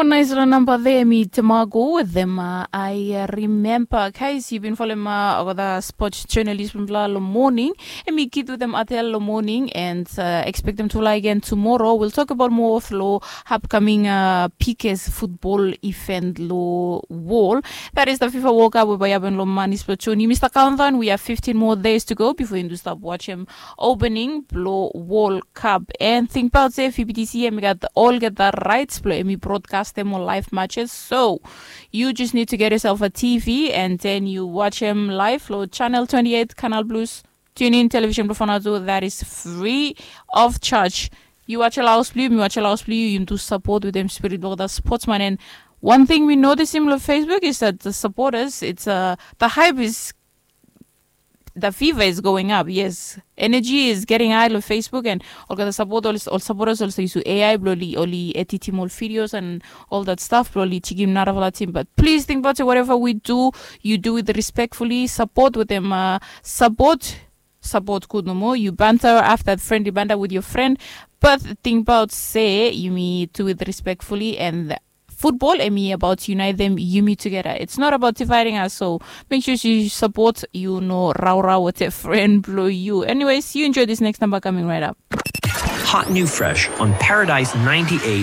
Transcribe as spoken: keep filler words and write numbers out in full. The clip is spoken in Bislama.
Nais long namba there mi tamago with them. Uh, I uh, remember, guys, you've been following uh, over the sports journalist from Bla long morning. And mi kid with them atel long morning and uh, expect them to lie again tomorrow. We'll talk about more of lo upcoming uh, P K's football event lo wall. That is the FIFA World Cup whereby happen lo manis Pachoni. Mister Countdown, we have fifteen more days to go before you stop watching opening blo World Cup. And think about say F B T C and we got all get the rights blo Emmy broadcast them on live matches. So you just need to get yourself a T V and then you watch them live lo channel twenty-eight, Canal Plus. Tune in television blo Fanatu, that is free of charge. You watch a house blue, you watch a house blue, you do support with them spirit blo the sportsman. And one thing we notice him on Facebook is that the supporters, it's uh, the hype is the fever is going up. Yes, energy is getting high on Facebook and olgeta support ol ol supporters also use A I blo oli oli editim ol videos and all that stuff blo oli chikim narafala team. But please think about it. Whatever we do, you do it respectfully. Support with them. Uh, support support good no more. You banter after friendly banter with your friend. But think about say you me do it respectfully and football and me about unite them you me together. It's not about dividing us. So make sure you support you know rau rau with a friend blow you. Anyways, you enjoy this next number coming right up. Hot new fresh on Paradise ninety-eight.